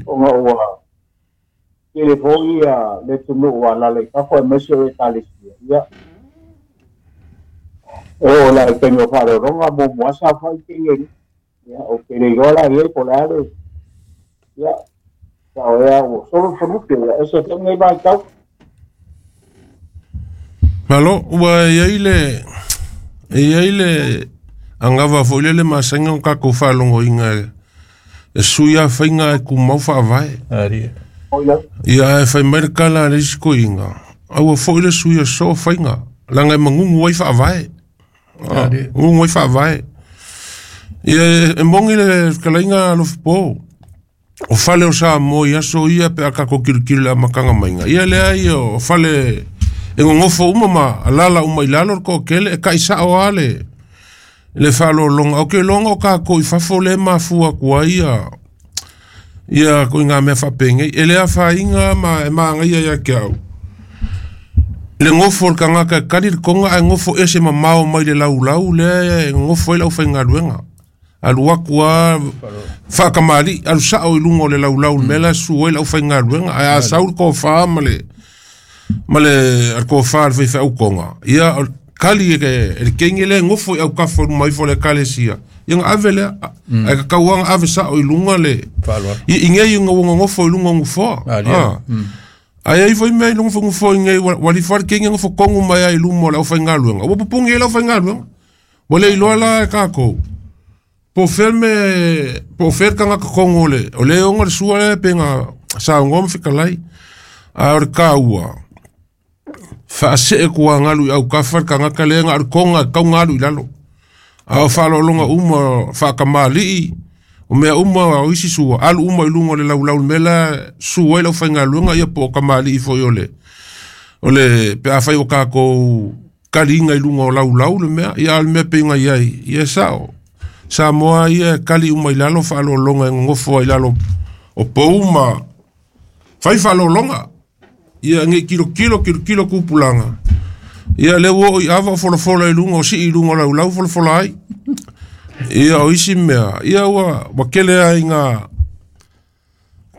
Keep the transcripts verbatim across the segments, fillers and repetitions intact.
Ona ua tele foi ia le atunuu ua alaala i fafo aemaise o Ekalesia. Ia e oo la i taimi o faaaloaloga muamua saofai kegi. Ia ou te le iloa la i ai po o le a le ia sao ea ua solo le falupe ia ese foi lenei vaitau. Malo, ua i ai le e i ai le agava foi lele masani ona tatou faalogoina e sui lava faiga e tumau faavae. Ia ae fai mai le tala a le isi toeaina, aua foi le sui e soo faiga, leaga e manunu ai faavae. Manunu ai faavae. Ia e moni le fetalaiga Alofipo, o fale o Samoa i aso ia pe a tatou tilotilo i le amataga maiga, ia leai o fale e nonofo uma ma alala uma i lalo le toatele, e taisao lava le le faaaloaloga. Ou te iloa o tatou i fafo lea e mafua atu ai ia ia ituaiga mea faapenei. E le afaina ma e manaia ia te au le nofo o le tagata e tali le toga ae nofo ese mamao mai le laulau lea e nofo ai le aufaigaluega. Alu atu lava faatamalii, alu sao i luga o le laulau i le mea la e susu ai le aufaigaluega. Ae a sau le tofa ma le ma le tofa a le faifeau toga, ia tali e le teine lea e nofo i autafa i luma ifo o le ekalesia, ia ona ave lea. Ae tatau lava ona ave sao i luga le i nei ina ua nonofo i luga o nofoa. Ae ai foi mea i luga o nofoa i nei, ua alu ifo lava le teine nofo tonu mai lava i luma o le aufaigaluega, ua pupuni ai le aufaigaluega. Ua le iloa la e tatou po o fea le mea, po o fea le tagata tonu o le o le ona le sua lea pe na saunoa ma fetalai. A o le taua, faasee tuagalu i autafa le tagata lea na o le toga e tatau ona alu i lalo. A o faaaloaloga uma, faatamalii, o mea uma o isi sua, alu uma i luga o le laulau i le mea la e susu ai le aufaigaluega, ia po o tamalii foi o le o le pe afai o tatou taliga i luga o laulau le mea, ia a o le mea pei ona i ai, ia e sao. Samoa ia e tali uma i lalo faaaloaloga e nonofo ai i lalo o pou ma fai faaaloaloga. Ia nei tilotilo tilotilo tupulaga. Ia lea ua oo i ava o folafola i luga o sii i luga o laulau folafola ai. Ia o isi mea, ia ua ua tele ai ina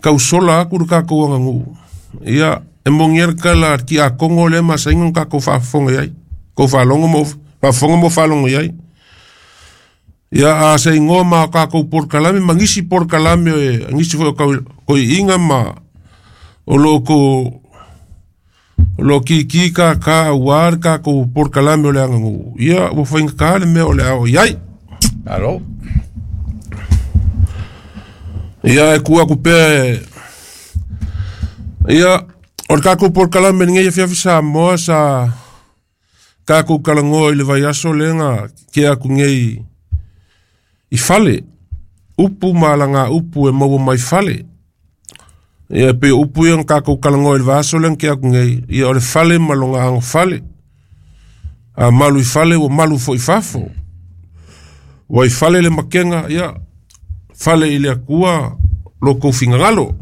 tausola atu le tatou aganuu. Ia e moni ai le tala a le tiakono lea masani ona tatou faafofoga i ai. Tou faalogo ma faafofoga ma faalogo i ai. Ia a se igoa ma tatou polokalame ma nisi polokalame nisi foi o toeaiina ma o lo o o lo o kiki kaka aua le tatou polokalame o le aganuu, ia ua faigata le mea o le a oo i ai. Malo. Ia e tuu atu pea e ia o le tatou polokalame i lenei afiafi Samoa sa tatou talanoa i le vaiaso lea na tea atu nei i fale, upu ma alaga upu e maua mai fale. Ia pei o upu ia na tatou talanoa i le vaiaso lea na tea atu nei, ia o le fale ma lona agofale. A malu i fale ua malu foi i fafo. Ua i fale le makega, ia fale i le Atua lo tou finagalo.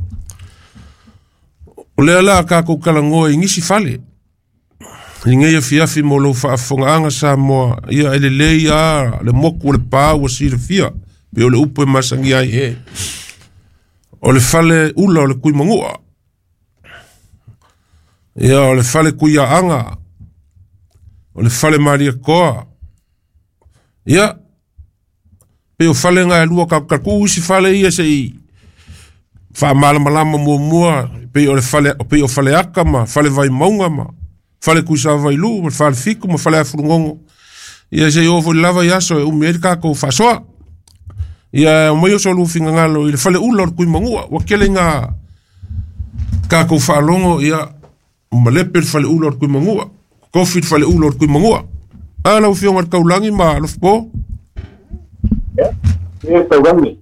O lea la a tatou talanoa i nisi fale i lenei afiafi mo lou faafofogaaga Samoa, ia e lelei lava le motu o le pa ua silafia, pei o le upu e masani ai. O le fale ula o le Tuimanua, ia o le fale Tuiaaga, o le fale Malietoa, ia pei o fale na e lua tatou tuu isi fale ia se i faamalamalama muamua, pei o le fale, pei o Faleata ma Fale Vaimauga ma Fale Tuisavailuu ma le Fale Fitu ma Fale Afulugogo. Ia se i oo foi i le lava i aso e umi ai le tatou faasoa. Ia aumai o so oulua finagalo i le fale ula o le Tuimanua, ua tele ina tatou faalogo, ia malepe le fale ula o le Tuimanua, tofi le fale ula o le Tuimanua. A lau Afioga i le Taulagi ma Alofipo. Ia, ia Taulagi.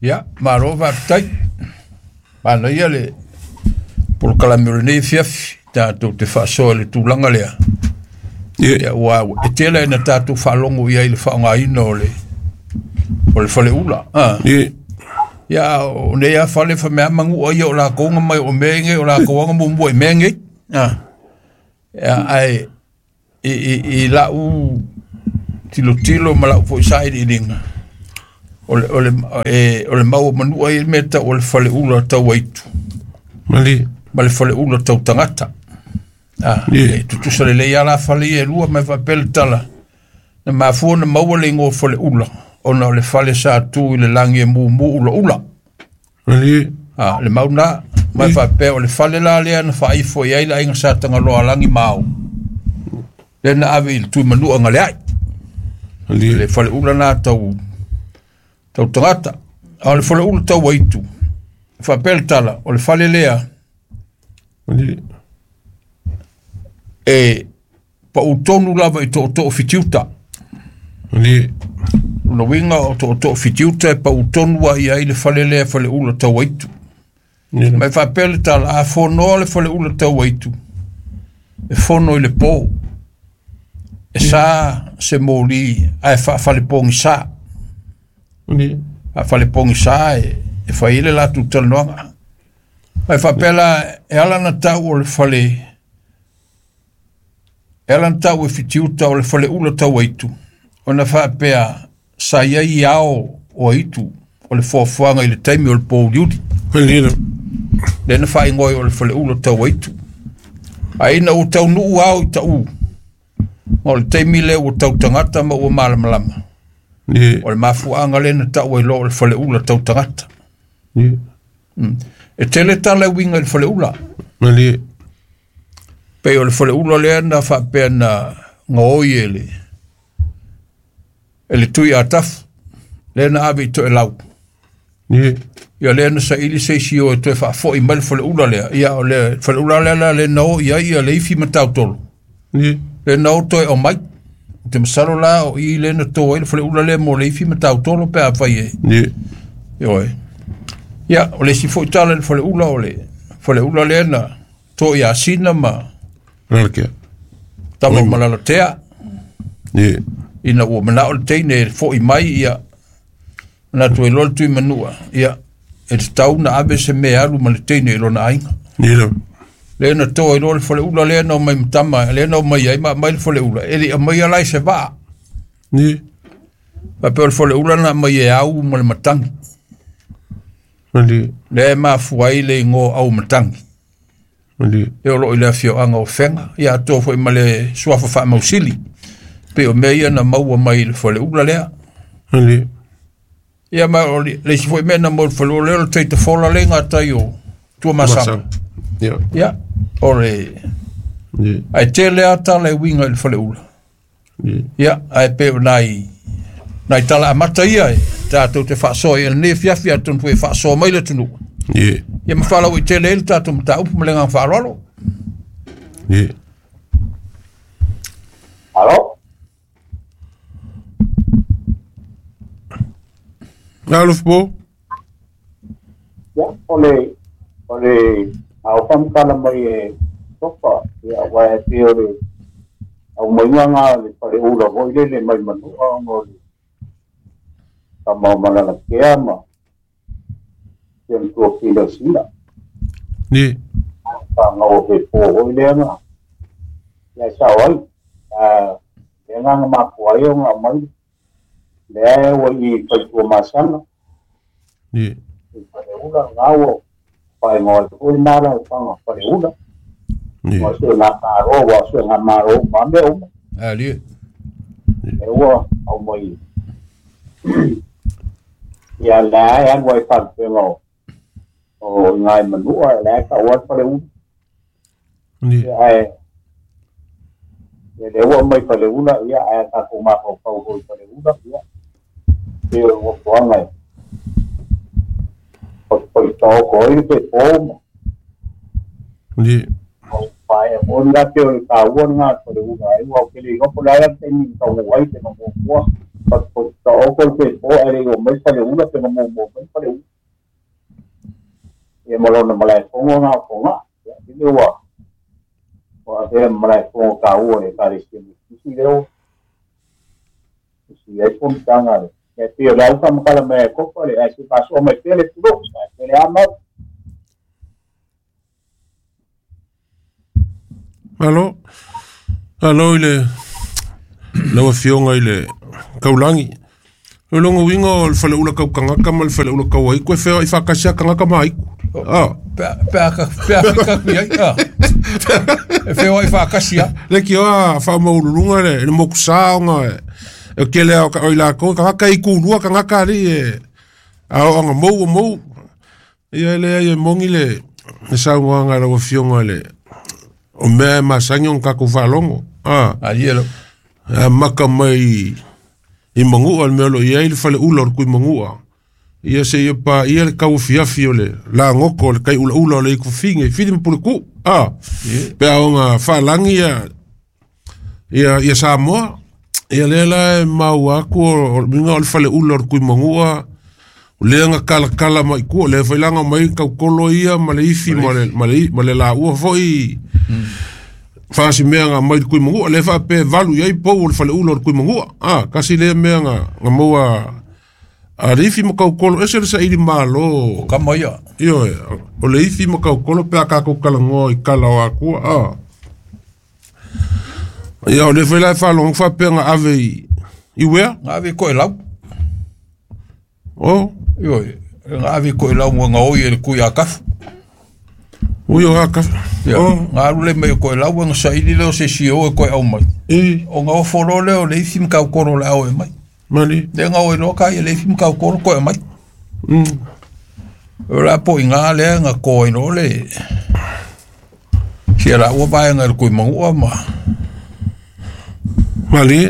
Ia, malo faafetai. Manaia le polokalame o lenei afiafi, tatou te faasoa i le tulaga lea. Ia, ua e tele ina tatou faalogo i ai i le faaaogaina o le o le faleula. Ah. Ia, o nei a fale fa mea manua ia o lakou nga mai o mea nei o lakou anga muamua i mea nei. Ah. Ia, ae i, i, i lau tilotilo ma lau foi sailiiliga, O le o le e o le mau manua i le mea tau o le faleula tau aitu. Mali. Ma le faleula tau tagata. Ah, e tutusa lelei a la fale ia e lua ma e faapea le tala. Na mafua na maua le igoa faleula ona o le fale sa tu i le lagi e mumu ulaula. Mali. Ah, le mau na ma e faapea o le fale la lea na faaifo i ai le aiga sa tagaloa lagi ma ao. Lea na ave i le tui manua galeai. Mali. Le faleula na tau tau tagata. A o le faleula tau aitu. Faapea le tala o le fale lea Mali. e pautonu lava i tootoo fitiuta. Mali. Lona uiga o tootoo fitiuta e pautonu ai ai le fale lea faleula tau aitu. Ma e faapea le tala a fonoa le faleula tau aitu e fono i le po. E sa se moli ae faafalepogisa. Mali. Faafalepogisa e e fai ai le latou talanoaga. Ma e faapea la e ala na tau o le fale e ala na tau e fitiuta o le faleula tau aitu ona faapea sa i ai ao o aitu o le foafoaga i le taimi o le pouliuli. Mali. Lea na faaigoa ai o le faleula tau aitu. Ae ina ua taunuu ao i taʻu ma o le taimi lea ua tau tagata ma ua malamalama. Ni. O le mafuaaga lea na taʻu ai loa o le faleula tau tagata. Ni. Mm. E tele tala e uiga i le faleula. Mali. Pei o le faleula lea na faapea na gaoi e le e le tui atafu. Lea na ave i toelau. Ni. Ia lea na saili se isi o e toe faafoʻi mai le faleula lea. Ia o le faleula lea la le na o i ai ia le ifi ma tautolo. Ni. Le na o toe o mai. O te masalo la o i le na to ai le faleula lea mo le ifi ma tautolo pe a fai e. Ni. Ioe. Ia, o le isi foʻi tala i le faleula o le faleula lea na to ia sina ma Lalakea. tama o malalatea. Ni. Ina ua manao le teine e foʻi mai ia na toe loa le tui manua. Ia, e tatau na ave se mea alu ma le teine i lona aiga. Ni la. Lea na to ai loa le faleula lea na omai ma tama, lea na omai ai ma aumai le faleula. E le i aumaia la i se vaa. Ni. Faapea o le faleula na aumai e au ma le matagi. Mali. Lea e mafua ai le igoa au matagi. Mali. E o loo i le afioaga o Fega. Ia atoa foʻi ma le suafa faamausili. Pei o mea ia na maua mai i le faleula lea. Mali. Ia ma o le isi foʻi mea na maua i le faleula lea o le taitafola le gatai o Tuamasaga. Ia. Ia, o le Ni. ae tele a tala e uiga i le faleula. Ni. Ia, ae pei o nai nai tala amata ia e tatou te faasoa i lenei afiafi atonu foi e faasoa mai le atunuu. Ni. Ia ma faalauaitele ai le tatou mataupu ma le agaga faaaloalo. Ni. Alo? Alofa po. Ia, o le, o le, au whamkala mai e topa, ia, wa e te o le, au mai ngā le pare ula hoi le le mai manua o le, ka mau malala kea ma, kia tua pila sina, Ni. ka ngau he pō hoi le ngā, ia sao ai, a, le ngā ngā mapua ai o ngā mai, le ai o i whaitua masana, Ni. i pare ula ngā o, pai ngā hoi nāra o panga pare ula, Ni. wa se ngā kāro, wa se ngā maro, ma mea uma, Ali. e ua au mai. Ia la e alu ai whanpenga o, o ngai manua, la e ka ua pare ula. Ni. Ia e, ia le ua mai pare ula, ia e tātou mafaufau hoi pare ula, ia, te o ua puanga e. O poi tō koi te pōma, Ni. o pai e o ngā te o le kā ua ngā pare ula, e ua o kele i hopo la te ni ka ua ai te ngā mua, pa poi tō koi te pō, e re o mai pare ula, te ngā mua mua mai pare ula. Ia malona malae fongo ngā fonga, ia ile ua, ua ea malae fongo kā ua e kāre sia mi kisi leo, isi ai fontanga le. Ia te o le au whamakala mai e kopa le, ai se pasoa mai pele turo, ai pele amau. Alo. Alo i le lau afioga i le Kaulangi. O longa uiga o le faleula kaukagaka ma le faleula kauaiku e feoa'i faakasi a kagaka ma aiku. Ah. Pe a ka pe a fika ku ai. Ah. E feoa'i faakasi a. Le ki oa faamaululuga le le mokusā ona e kele a o ka oi lakou kagaka i kulua kagaka alii e aoaga mou o mou. Ia e leai e mogi le le saunoaga a lau afioga le o mea e masani ona kakou faalogo. Ah. Ali e lo. Amaka mai i magu'a le mea o lo o i ai le faleula o le Tuimagu'a. Ia seia paia le tauafiafi o le lagoko o le tai'ulaʻula o le ikufafine i Fili ma Puletu'u. A pe a oga faalagi ia ia ia Samoa. Ia lea la e maua atu o le uiga o le faleula o le Tuimagu'a o lea na kalakala mai tua, lea foi laga mai taukolo ia ma le ifi ma le ma le ma le laua foi faasimea na mai le Tuimagu'a lea faapea e valu i ai pou o le faleula o le Tuimagu'a. A kasi lea mea na na maua a le ifi ma kaukolo ese le saili malo. O kama ia. Ioe, o le ifi ma kaukolo pe a kakou talanoa i kala o akua. A. Ia o le foi la e faalogo faapea na ave i i uea? Nga ave i Koʻolau. O. Ioe, nga ave i Koʻolau mo nga oi e le kui a kafu. Ui o a kafu. Ia, O. nga alu le mai o Koʻolau nga saili leo se si o e koe au mai. E. O nga ofo lo leo le ifi ma kaukolo le au e mai. Mali. Le nga oi loa ka ia le ifi ma kaukolo koe mai. Mm. O la po i ngā lea nga koe no le. Sia la ua vae nga le kui mangua ma. Mali.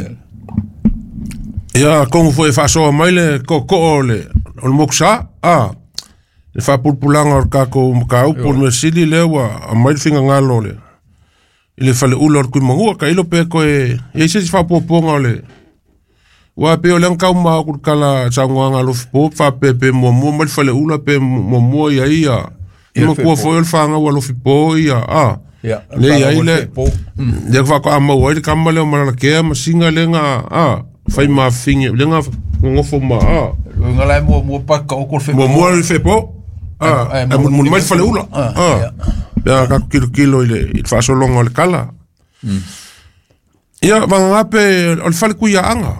Ia kongu foi faasoa mai le koko'o o le o le mokusā. A. Le faapulapulaga o le kakou mataupu o le mea sili lea ua aumai le figagalo o le i le faleula o le Tuimagu'a tailo pe toe i ai se isi faapuapuaga o le ua pei o lea na taumā aku i le tala saunoaga a Alofipo faapea pe muamua mai le faleula pe muamua ia ia Ia le matua fepo. foi o le fagau a Alofipo ia a Ia, le le i ai whanau o le le fepo. lea faatoa maua ai le kama lea o Malalakea ma siga lea na a fai mafafine lea na gogofo ma a Nga lai mua mua pa ka oko le fepo. muamua le fepo a Ai, e mulimuli mai le faleula. Ah, A ia. pe a kakou kilokilo i le i le faasologa o le kala. Ia vagagape o le falekuiaaga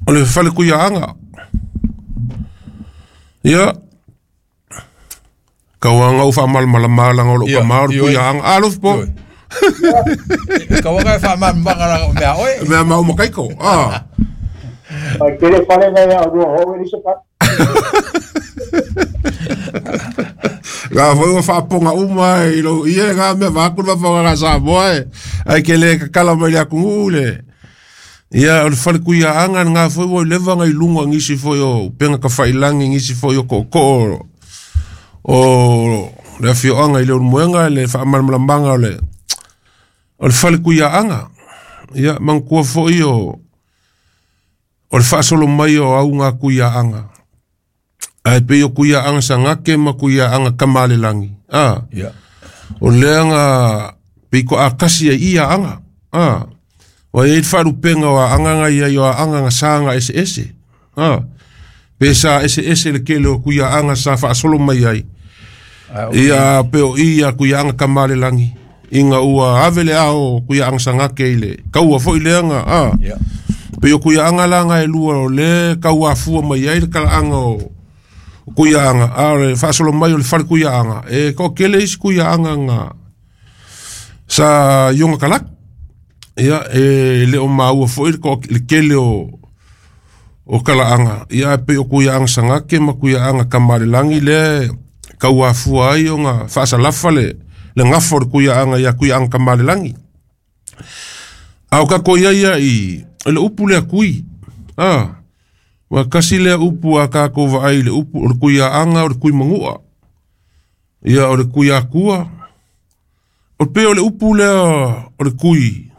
o le falekuiaaga. Ia kauaga ou faamalamalama laga o lou Ia, kamā o le ioe. kuiaaga a Alofipo. Ioe. Kauaga e whaamamanga la mea oe. Mea mau makaiko a Ai kele fale ngai a rua ho e se pa. Ga foi ua faapoga uma i lou ia e gā mea vaaku le fafaogaga Samoa e ae ke lē kakala mai le atunuu le. Ia o le falekuiaaga lagā foi ua leva ga i luga gisi foi o upega tafailagi gisi foi o ko'oko'o o le afioaga i le ulumoega le faamalamalamaga o le o le falekuiaaga. Ia manatua foi o o le faasolo mai o auga kuiaaga ae pei o kuiaaga sagake ma kuiaaga kamalelagi. A Ia. o lea na pei ko'akasi ai ia aga. A ua iai le faalupega o aaga ga iai o aaga ga saga eseese. A pe sa eseese le kele o kuiaaga sa faasolo mai ai. Ai, o- Ia pe o ia kuiaaga kamalelagi ina ua ave le ao kuiaaga sagake i le kaua foi lea ga a Ia. pe o kuiaaga laga e lua o le kauafua mai ai le kalaaga o o kuiaaga a o le faasolo mai o le fale kuiaaga e to'atele isi kuiaaga ga sa ioga kalaki. Ia e le o maua foi le to'a- le kele o o kalaaga ia ae pei o kuiaaga sagake ma kuiaaga kamalelagi lea kauafua ai ona faasalafa le le gafa o le kuiaaga ia kuiaaga kamalelagi. A o kakou ia ia i le upu lea kui. A ua kasi lea upu a kakou vaai i le upu o le kuiaaga o le kuimagu'a. Ia o le kuiakua. O pei o le upu lea o le kui.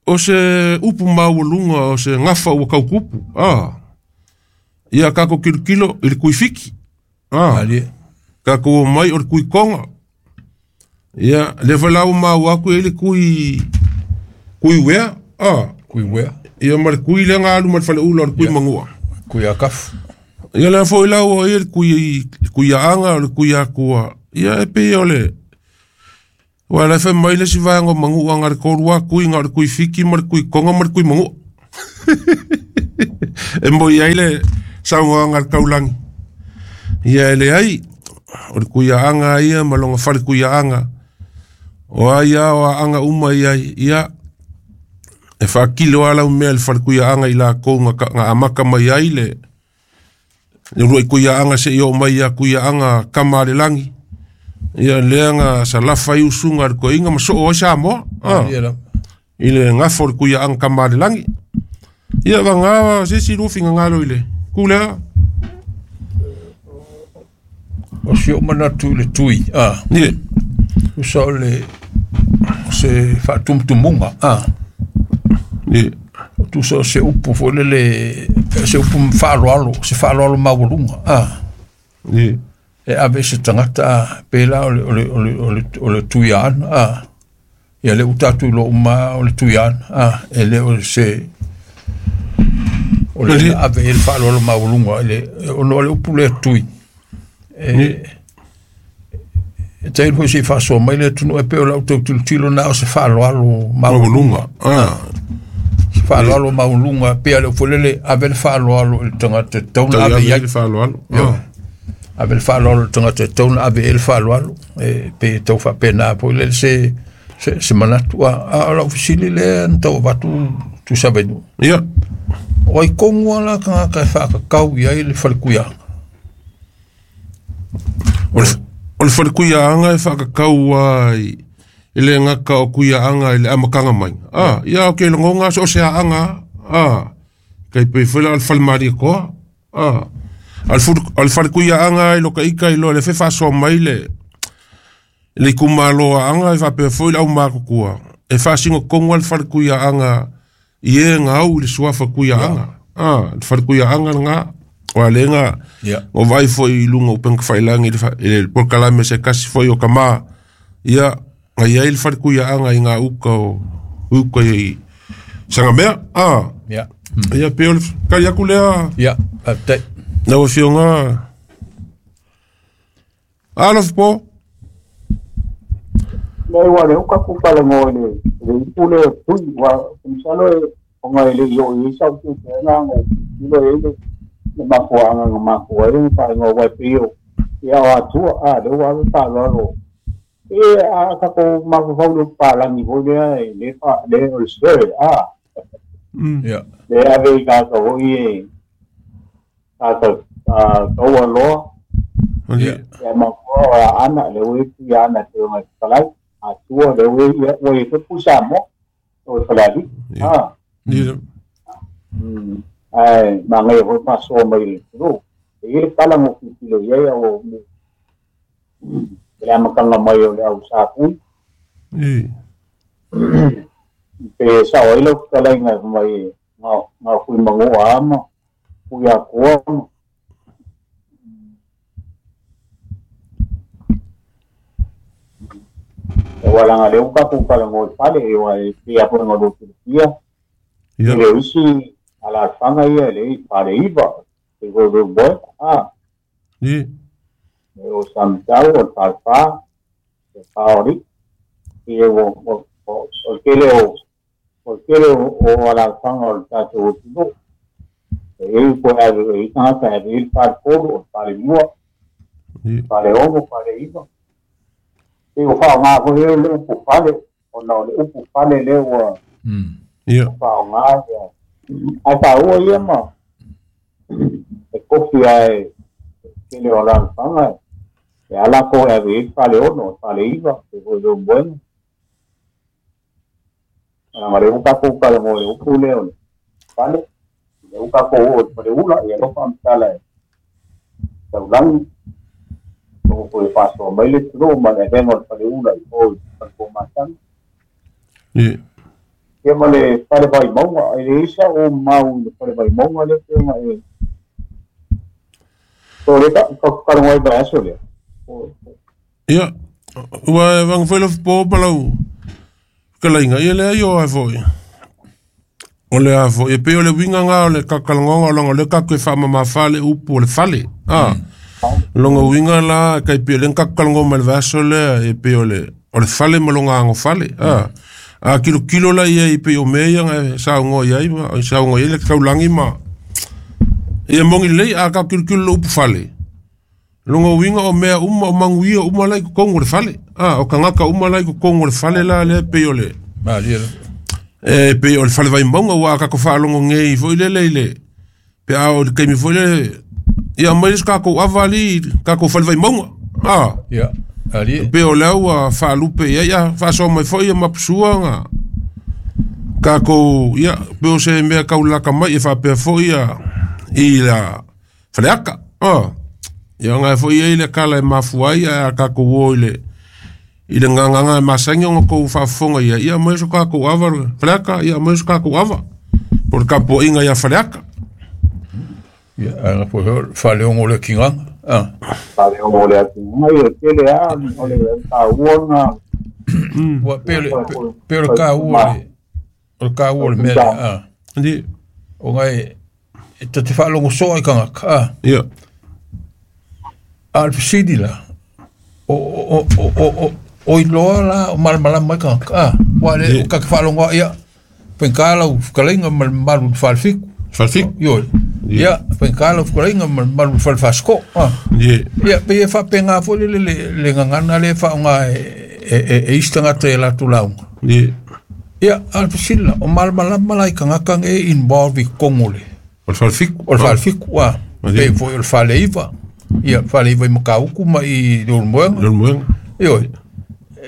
O se upu maualuga o se gafa ua kaukupu. A ia kakou kilokilo i le kuifiki. A Ali. kakou omai o le kuikoga. Ia lea foi la ua maua atu e le kui kui uea. A Kui wea. ia ma le kui lea ga alu ma le faleula o le kuimagu'a. Kui a kafu. Ia lea foi la ua ia le kui kuiaaga o le kuiakua. Ia e pei o le ua le fai mai le isi vaega o magu'a ga le tolu a kui ga o le kuifiki ma le kuikoga ma le kuimagu'a. E mo i ai le saunoaga a le taulagi. Ia e leai, o le kuiaaga ia ma lona fale kuiaaga. O ai a o aaga uma i ai, ia, e faakilo a lau mea le fale kuiaaga i lakou ga amaka mai ai le le uluai kuiaaga seia oo mai ia kuiaaga kama a le lagi. Ia lea ga salafa ai usuga a le toeaina ma soo ai Samoa. Ah. Ia lava. I le gafo o le kuiaaga kama a le lagi. Ia vaga se isi lua finagalo i le ku lea. O si ou manatu i le tui, a. Ie. Tusa o le o se faatumutumuga, a. Ie. Tusa o se upu foi lele, se upu faaaloalo, se faaaloalo maualuga, a. Ie. E ave i se tagata, a, pe la o le, o le, o le, o le, o le tuiaana, a. Ia lea ua tatou iloa uma o le tuiaana, a, e le o se o le Ie. na ave i ai le faaaloalo maualuga i le ona o le upu lea tui. E e tailo foi se i faasoa mai le atunuu e pei o lau tau tilotilo na o se faaaloalo maualuga. Maualuga. Ah. Se faaaloalo maualuga pei a le upu lele ave le faaaloalo i le tagata e tatau Tau ona ave ave i ai. le faaaloalo. Ioe. Ah. Ave le faaaloalo i le tagata e tatau ona ave i ai le faaaloalo. E pei e tau faapena foi lele se se se manatu. A a o lau fesili lea na tau avatu Tuisavailuu. Ia. O ai kogu a la tagata e faakakau i ai le falekuiaga. O le o le falekuiaaga e faakakau ai i le gata o kuiaaga i le amataga mai. Ah, ia o ke logoga so o se aaga. Ah. Kai pe foi la o le falemalietoa. Ah. A le fulu- o le falekuiaaga i lo ka ika i lo le fe faasoa mai le le itumalo aaga e faapea foi le aumatutua. E faasinotonu a le falekuiaaga i e gau i le suafa kuiaaga. Ah, le falekuiaaga lena. O a lega Ia. o vaai foi i luga o upega tafailagi i le fa- i le polokalame se kasi foi o kamā. Ia, ga i ai le falekuiaaga i gā uka o uka i Sagamea. Ah, Ia. ia pe o le kali aku lea Ia, faafetai. lau afioga. Alofa po. Le ua le uka ku falagoa i le le ipu lea o tui ua masalo e ona e le i oo i ai sau tutuega o tilotilo i ai le le mafuaaga na mafua ai ona faaigoa ua e pei o ia o atua a lea ua ave faaaloalo e a tatou mafaufau i le palagi foi lea e le fa le o le sere a Ia. le ave i tagata foi e tagata a taualoa Ia. ia mafua o aana le ua i tuiaana e pei ona fetalai atua le ua ia ua i ai foi Samoa o le Falealii a Ia. Mm. Ae magaia foi faasoa mai le atunuu. E i ai le tala na ou tilotilo i ai au i le amataga mai o le au safui. Ia. Pe sao ai lau fetalaiga e mai ga ga fui magoa a ma fui atoa ma. E ua laga lea ua tatou talanoa i fale e ua e pei lava foi ona lua silafia. Ia. E le o isi alaalafaga ia e le fale iva e foi le moe a. Ia. E o Samatau o le falefa le faoli ia ua ua o o le tele o o le tele o o alaalafaga o le tatou atunuu. E i ai po ave e i tagata e ave i ai le faletolu o le falelua Ia. faleono faleiva. E ua faaaoga foi lea le upu fale ona o le upu fale lea ua Mm. Ia. faaaoga ia ae taua ia ma e kofi ae tele o alaalafaga e ala ko e ave i ai le faleono o le faleiva e foi le moega. Laga lea ua tatou talanoa i le upu lea o le fale lea ua tatou oo i le faleula ia alofa faamatala e taulagi o foi faasoa mai le atunuu ma le avega o le faleula i o i le falefomasana. Ia. Ia ma le fale vaimauga e leai sa ou mau i le fale vaimauga lea pei ona e o le ta talanoa ai vaiaso lea. O Ia. Ua e vaga foi alofa po ma lau fetalaiga. Ia leai o ae foi. O le a foi e pei o le uiga gā o le kakalanoaga o laga o lea tatou e faamamafa le upu o le fale. Ah. Longa uiga la e kai pei o lea na tatou talanoa mai le vaiaso lea e pei o le o le fale ma loga agofale. Ah. A kilo kilo la ia i pe o mea ia ngai saungo ia i ma saungo ia le kaulangi ma ia mongi lei a ka kilo kilo upu fale. Longo winga o mea uma o manguia uma lai ko kongo le fale. Ah o kangaka uma lai ko kongo le fale la le pe o le. Ma le e pe o le fale vai monga wa ka ko fa longo ngei foi le le le. Pe a o le kemi foi le ia mai ka ko avali ka ko fale vai monga. Ah ia ali pe o lau a faalupe ia ia faasoa mai foi ia mapusuaga kakou ia pe o se mea kaulaka mai e faapea foi ia i la faleaka a ia ga foi ia i le kala e mafua ai a kakou o i le i le gagaga e masagi ona kou faafofoga ia ia mai so kakou ava faleaka ia mai so kakou ava po le kapuaiga ia faleaka ia ana po faleogo le kigaga ah fale o le atu mai e tele a o le taua ua pe le pe le kaua le o le kaua le mea ah ndi o ngai e te faalogo soa i kangaka ah ia a le fesili la o o o o o o iloa la o malamalama i kangaka ah ua le o kake faalogo ia penkala u fukalainga ma le mamalu i le falefiku falefiku ioe ia penkala u fukalainga ma le mamalu i le falefaasiko ah ye ia pe e faapega foi le le le gagana le faaaoga e e e isi tagata e latou lauga ye ia a le fesili la o malamalama la i kagaka e involve i kogo le o le falefiku o le falefiku ah pe foi o le faleiva ia faleiva i Makauku ma i le Ulumoega le Ulumoega ioe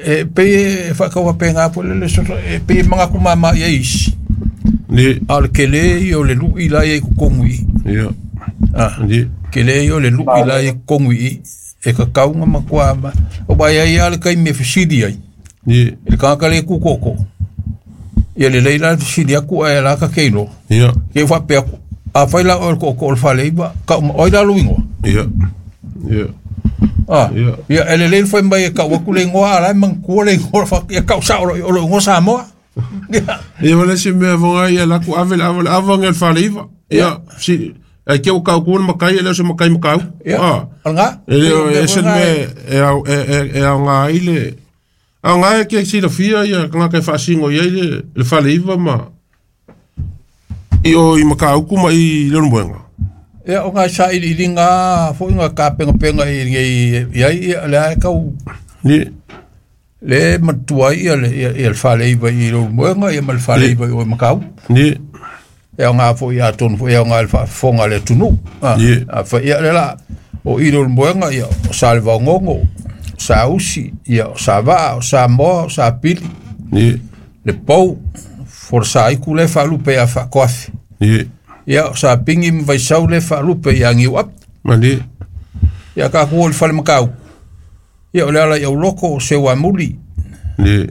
e pe e faakauapega foi le le e pe e magakumama ia isi ye a o le kele ia o le lu'i la ia i kokogu i ia ah ye kele ia o le lu'i la ia i kokogu i e kakauga ma kuama o vai ai a le kaimi e fesili ai ye i le kagaka le kukoko ia lelei la le fesili aku ae la kakeiloa ia ke faapea aku afai la oe le ko'oko'o o le faleiva ka'u oi la lou igoa ia ia ah ia ia e lelei le fai mai e ka'u aku le igoa a la e manatua le igoa ia ka'u sa'o o lou igoa Samoa ia ia wala se mea vonga ia laku ave le ave le ava nge le faleiva ia si ai ke o kau kuna makai e leo se makai makau ia ah o lagā e leo e se me e au e e e au ngā i le au ngā e ke silafia ia kangaka e faasingo ia i le le faleiva ma i o i Makauku ma i le Ulumoega ia o ngā sailiiliga foi ngā kapegapegai i ai ia le ae kau ye le matua ai ia le ia ia le faleiva i le Ulumoega ia ma le faleiva i o i Makau ye ia o ngā foi atonu foi ia o ngā le faafofoga a le atunuu ah ye a fa ia le la o i le Ulumoega ia o sa le Vaogogo sa Usi ia o sa Vaa o Samoa o sa Pili ye le pou forosaiku le faalupe ia faakoafi ye ia o sa Pingi ma Vaisau le faalupe ia Giuapi ma le ia kakou o le fale Makauku ia o le ala i auloko o Seuamuli ye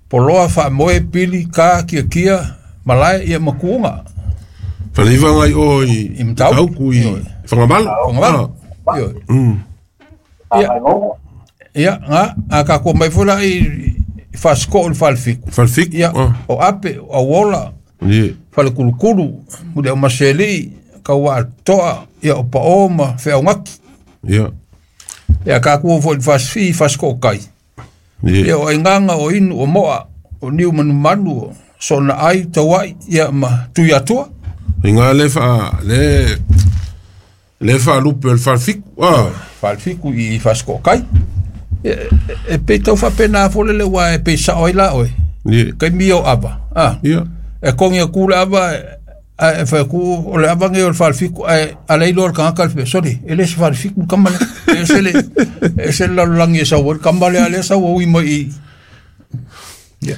poloa faamoe pili ka kiakia malae ia makuuga faleiva ngai o i i Matauku Makauku i ioe Whangamalo Fagamalo ah ioe mm ia ia ga a kakou mai foi la i i Fasiko'o le falefiku falefiku ia ah o Ape o Auola ye Falekulukulu muli au maseli'i kauaato'a ia o Pa'ō ma Feaugaki ia ia kakou foi i le fasifii Fasiko'o kai ye ia o aigaga o inu o mo'a o niu manumanu o sona ai taua'i ia ma Tuiatua i ngā le fa le le faalupe o le falefiku ah falefiku i Fasiko'o kai e, e, e pei tau faapenā foi le leuā e pei sa'o ai la oe ye kaimi o ava ah ia e kogi aku le ava ae e fai aku o le ava gei o le falefiku ae alai loa le kagaka le fea sole e lē se falefiku le kama lea e se le e se le lalolagi e sau ai le kama lea lea sau aui mai i ia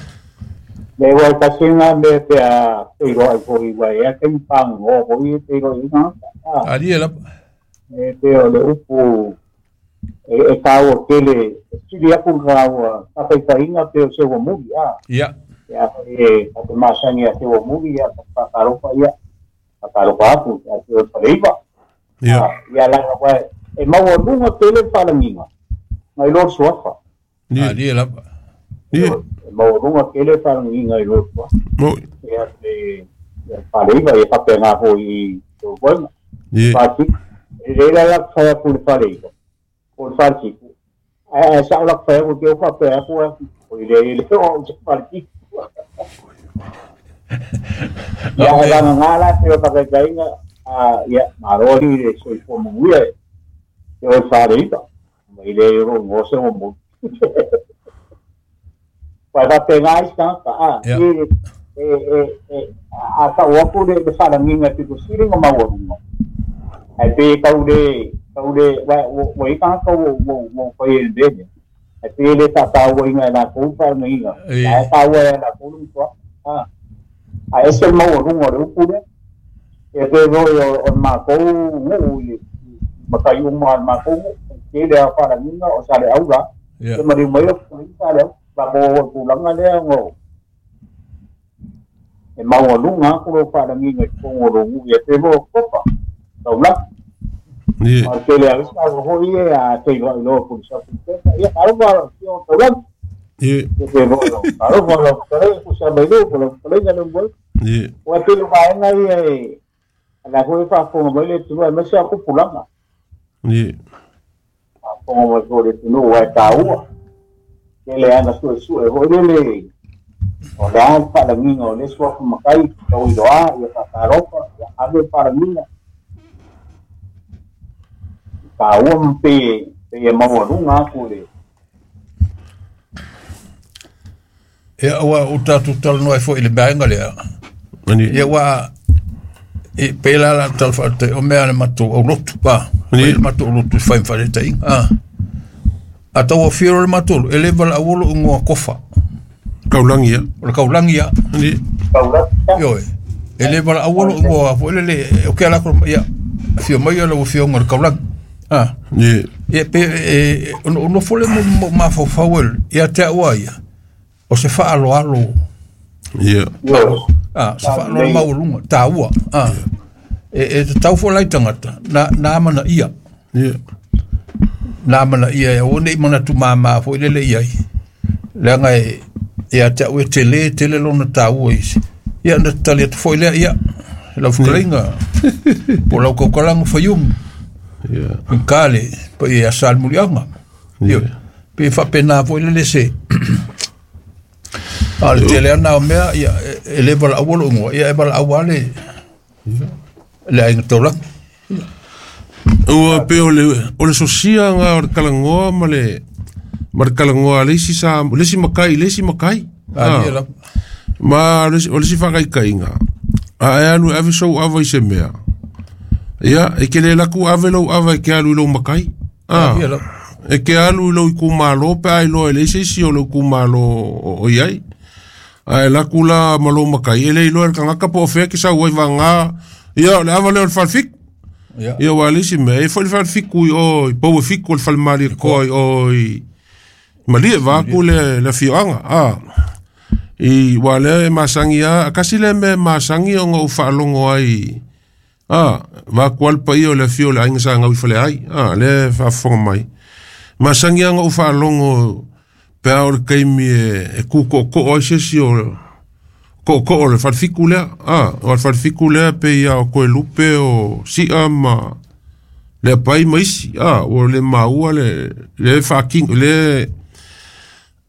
Le wai kasinga me pe a te roa i foi wai a kei pango foi e te roa i ngā. Ah, ali e lapa e te o le upu e, e kāua tele, e sili aku kāua tātaitainga pe o sewa muri, ah. ia Ia e a te masangi a sewa muri, ia ka whakaropa ia, whakaropa aku, a te o whareiva. ia Ah, ia langa wai, e maua lunga tele whalanginga, ngai loa suafa. ye ali e lapa ye E maua lunga tele whalanginga i loa suafa. mo Ia te ia whareiva, e whape ngā hoi i te wainga. ye Whati, e reira la whaia ku le whareiva. O le whatiku. A a sa la whaia ku te o whapea ku a o i le le o te whatiku. Ia e langa ngā te o whakaikainga, ia, maro hi le soifua manuia e te oi whareipa. Mai le ro ngose o mo. Pai whapenga ai tangata, a, e, e, e, e, a ka uapu le le wharanginga te kusiri nga maualunga. Ai pe kau le, kau le, wa, wa i tangata wo, wo, wo whai e mbene. Ai pe le whataua inga e la kou wharanginga. Ai taua e la kou lunga. A ese maualunga le upu le. E pe roi o, o mākou nguu i makai uma al mākou nguu. Ke le a wharanginga o sa le aura. Te mariu mai o wharanginga le au. Ba mo pulanga lea ngo. E maualunga ko lo wharanginga i kongo ro ngu e te mo kopa. Taula. A te le avisa ho i e a te iloa iloa pulisa pulisa. Ia karo wa o taula. Ye. Te mo lo. Karo wa lo kare pusa mai lo lo kare ngalo mo. Ye. O te lo vaenga i e la ko fa fonga mai le tu ma sa ko pulanga. Ye. A fonga mai ko le tu no wa taua. Ke le ana su su e ho le o le ana wharanginga o le sua makai tau iloa ia whakaropa ia ave wharanginga taua mpe pe e maualunga aku le Ia ua o tātou talanoa foi i le vaega lea. Ia ua e pela la tal whaate o mea le matou au lotu pa. Le matou au lotu whai mwharetaiga. Ah. A tau o whiro le matou e le wala awolo ungoa kofa. Kaulangi ia. O le kaulangi ia. Kaulangi. Ioe. E le wala awolo ungoa fo ele le o ke ala ko ia whio mai o le whio ngor kaulangi. Ah. Ye. E pe e ono ono fole mo mafau ia te aua ia. O se whaaloalo. Ia. Ah, se whaaloalo maualunga. Tāua. Ah. E e te tau fo lai tangata. Na na mana ia. Ia. Nā mana ia e o nei mana tu māmā fo i lele ia i. Leanga e e a te au e tele, tele lona tāua isi. Ia na tali atu fo i lea ia. Lau whakaringa. Po lau kaukalanga whayumu. Ia. Kale, pa i a salmulianga. Ia. Pe whapena fo i lele se. A le tele ana o mea, ia, e le wala awolo ungoa, ia e wala awale le ainga taulanga. Ua pe o le, o le sosia ngā o le kalangoa ma le, ma le kalangoa le isi sa, le isi makai, le isi makai. Ah, ah. Ma o le isi whakaikainga. A e alu ave sou ava i se mea. Ia, e ke le laku ave lau ava e ke alu i lau makai. Ah. E ke alu i lau i kumalo, pe ai loa e le isi isi o lau kumalo o, o iai. A e laku la malo makai, e le iloa e le kangaka po o fea ke sau ai vanga. Ia, o le ava leo le falfiku. Ia wa le isi mea, e fo le falfiku i o, i pau e fiku o le falmali koa i o, i malie vaaku le, le fioanga. Ah. I wa le e masangi a, kasi le me masangi o ngau whaalongo ai. Ah, vaaku alpa i o le fio le ainga sa ngau i fale ai. Ah, le whaafonga mai. Masangi a ngau whaalongo pea o le keimi e, e kuko ko o sesi o ko ko o le falfiku lea. Ah, o le falfiku lea pe ia o koe lupe o sia ma le pai maisi. Ah, o le maua le le whaking le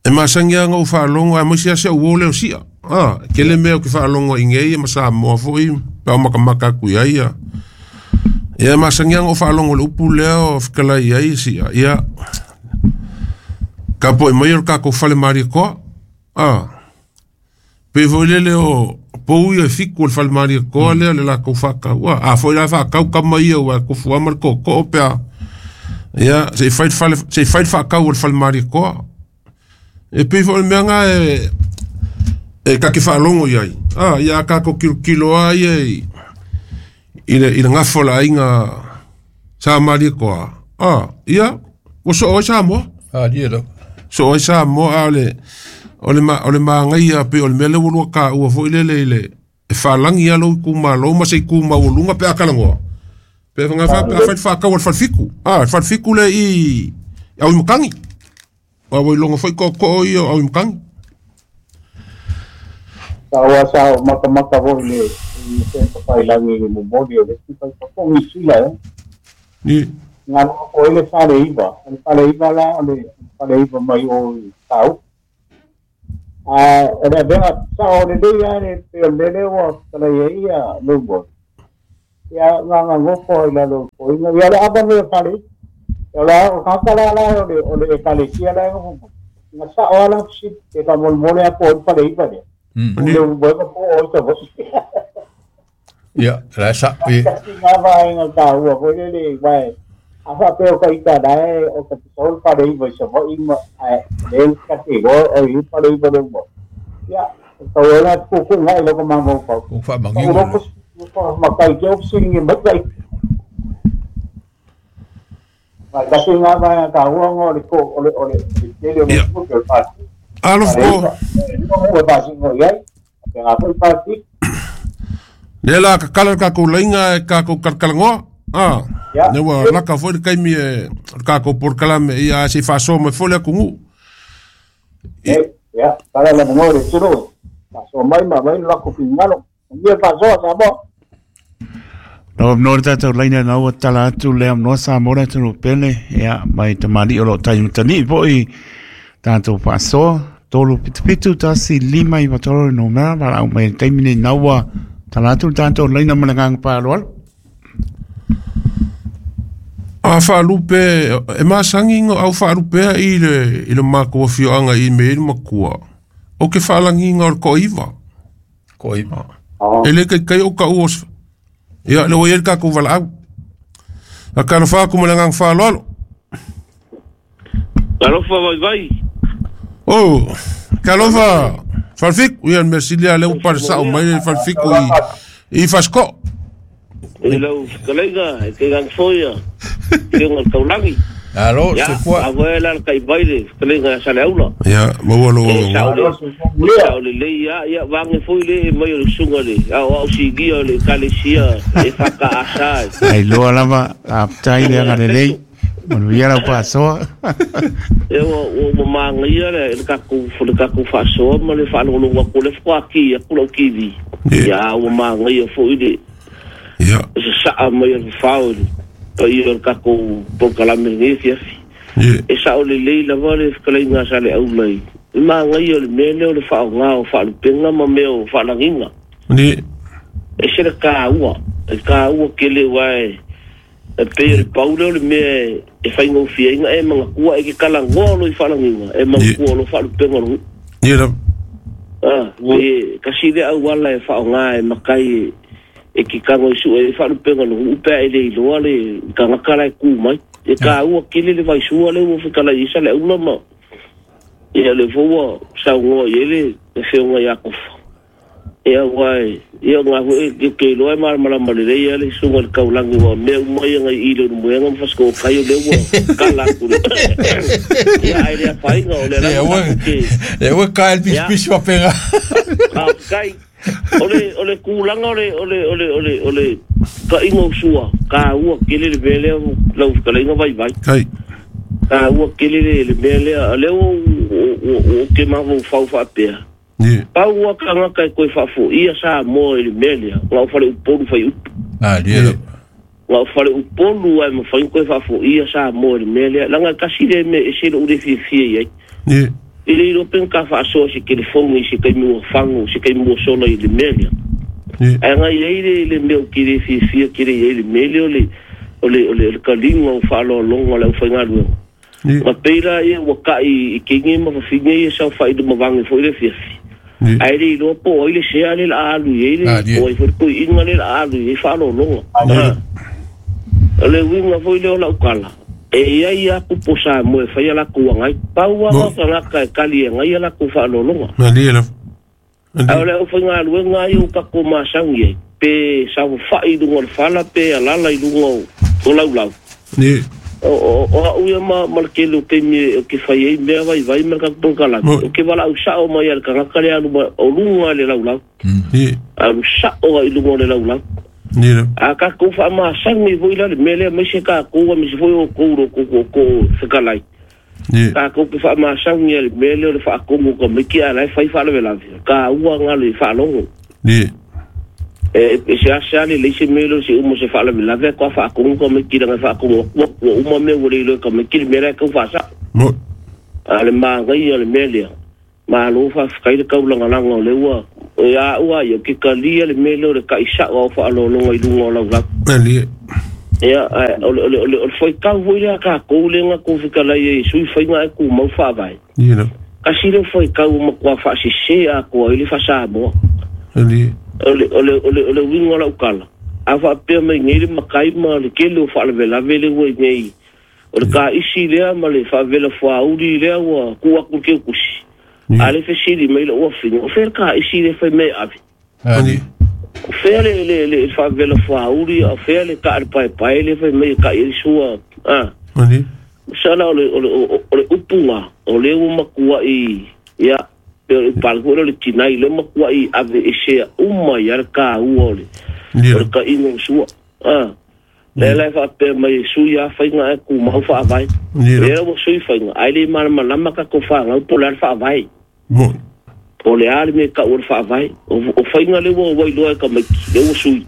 e masangi a ngau whaalongo a maisi ase o le o sia. Ah, ke le mea o ke whaalongo i ngei e masa moa foi pea o makamaka kui ai ia. Ia masangi a ngau whaalongo le upu lea o whakalai ai sia. Ia ka po e mai o kako whale maria koa. Ah. Pe foi lele o pou ia fiku o le whale maria koa lea le lako whakau. Ah, foi la whakau ka mai ia ua kofu ama le koko o pea. Ia, se i whai whale, se i whai whakau o le whale maria koa. E pe foi le mea ngā e, e kake whaalongo iai. Ah, ia kako kilo kilo a ia i, i le, i le ngafo la inga sa maria koa. Ah, ia, o so oi sa moa. Ah, ia la. So oi sa moa a le, o le ma, o le maangai a pe o le mea le ulua ka ua foi lele i le, e whalangi a lau i kumalo ma se i kumau o lunga pe a kalangoa. Pe whanga wha, pe a whai whakau o le whalfiku. Ah, le whalfiku le i, au i makangi. Wa wai longa foi ko ko i au i makangi. Sa wa sa maka maka voi le i te papai langi i momoli o le si pai papongi sila eh. Ni. Ngā o ele whare iwa. Le whare iwa la, o le whare iwa mai o i tau. A o le avega sao lelei a le pei o le mea lea ua talai ai ia lou ia gagagofo ai lalo o foiga ia le ava mea fale o la o kaka la la o le o le ekalesia la na sa o la si te ka mol mole a po fale i fale le bo ko po o to ia la sa i nga va nga ta ua ko le le vai a fa pe o ka ita dai o ka sol fale i vai so i ma le ka te go o i fale i fale mo ia ko la ku ku ngai lo ko ma mo ko ku fa mangi ko ma kai ke opsi ni mai kai ma ka se nga va ka ua ngo le ko ole ole le le mo ko pa alo ko ko pa si ngo yai ke nga pa ti le la ka kala ka ko lenga ka ko kalkalango ah ne wa la ka fo kai mi ka ko por kala me ia si faso me fo le ku ya para la mo le turo paso mai ma mai la ko pingalo ni paso sa mo No no ta laina na ua tala atu le am no sa mora tu no pele ia mai tamali o lo tai tani po i tanto paso tolu pitu tasi lima i matoro no mera la mai taimine na ua tala atu tanto laina mana pa lo a fa lupe e masangi ngo au fa lupe i le i le mako fioanga i me makua o ke falangi ngo ko iva ko iva e le kai kai o ka os ia le oel ka ko vala a ka fa ku mala ngang fa lolo Alofa vai vai oh kalofa falfik ia merci le le par sa o mai falfik i i fasko e lau kalega e ke gang foia ke ngal kaulangi alo se quoi a wela kai baile kalega sa leula ia mo lo lo le le ia ia vange foi le mai o sunga le au au sigia le kalesia e faka asa ai lo alava aptai le ngalele mo ia la paso e o o manga ia le ka ku le ka ku faso mo le fa lo lo ko le fa ki ku lo ki ia o manga ia foi le ia sa mo ia fa o ia ka ko po kala me ni fia e sa o le le la vale ka le nga sa le au lai ma nga ia le mele o le fa nga o fa le penga ma me o fa langinga ni e se le ka ua e ka ua ke le wai e pe le paulo le me e fa ngo fia inga e manga kua e ke kala ngolo i fa langinga e manga kua lo fa le penga lo ni la ah e ka si le au wala e fa nga e makai e ki kango isu e fa lupenga lo upe e le iloa le kangaka lai ku mai e ka ua kele le vaisua le ua whakala isa le ula ma ia le fua sa ngoa i ele e whionga ia kofa e au ai ia ngā hue ke ke iloa e maramarama le lei le sunga le kaulangi wa mea umai ngai i le muenga mfasko kai o le ua kala ku le ia ai le whainga o le ranga e ua ka el pispis wa penga kai ole ole kulanga ole ole ole ole ole ka ingo sua ka ua kele le mele lau kala inga vai vai kai ka ua kele le mele le o o ke ma vo fau fa pea ni pa ua ka nga kai koi fa fo ia sa mo le mele la fa le upolu fa up ah die la fa le upolu ai mo fa koi fa fo ia sa mo le mele la nga kasi le me se le ure fi fi ai ni ile ilo pen ka fa so se telefoni se kai mo fango se kai mo solo i le mele ai nga ile le me ki le fi fi ki le le mele ole ole ole le kalinga o fa lo longa le fa ngalu ma peira e wa kai i kingi ma fa fingi sa fa i mo vangi fo ile fi fi ai le ilo po ile se ale la alu ile o i fo ko inga le alu i fa lo longa le winga fo ile o la ukala e ia ia ku posa mo e fa la ku ngai paua ka nga ka kali ngai la ku fa lo longa na ni la a le o fa nga lu ngai o ka ko ma sangi pe sa fa i lunga fa la pe ala la i lunga o lau lau ni o o o ia ma ma ke lo ke mi ke fa ia me vai vai ma ka ko kala o ke wala u sa o mai al ka ka le alu o lunga le lau lau ni a lu sa o i lunga le lau lau ni a ka ko fa ma sangi voi la mele me se ka ko me se foi o ko ro ko ko ko se ka lai ni ka ko fa ma sangi le mele le fa ko mo ko me ki ala fa fa le la ka ua nga le fa longo ni e se a se le se mele se o mo se fa le la ve ko fa ko ko me ki la fa ko mo o mo me wo le ko me ki mele ko fa sa mo a le ma ngai le mele Malo faafetai le kaulagalagā o le ua e aʻu a ia ke kalia le mea lea o le taʻisaʻo ao faalologa i luga o laulau. Alie. Ia o le o le o le o le faitau foi lea tatou lea na tou fetalai ai e sui faiga ae tumau faavae. Ia. Kasi le faitau ua matua faasese atoa ai le faasamoa. Alie. O le o le o le o le uiga o lau tala a faapea mai nei le matai ma le tele o faalavelave le ua i nei o le kaisi lea ma le faavela fuauli lea ua tuu atu le keukusi. A le fesili mai lou afine o fea le kaisi le fai mai e ave. Alie. O fea le le le faavela fuauli o fea le kaa le paepae le fai mai e kai ai sua a. Alie. Sala o le o le o le upuga o le ua matuai ia pe o le upalaku o le tinai le matuai ave esea uma ia le kāua o le o le kaiga o sua. A le la e faapea mai e sui lava faiga ae tumau faavae. Lea ua sui faiga ae le malamalama tatou fanau po o le a le faavae. Po o le a le mea e tau o le faavae. O faiga lea ua ua iloa e tamaiti lea ua sui.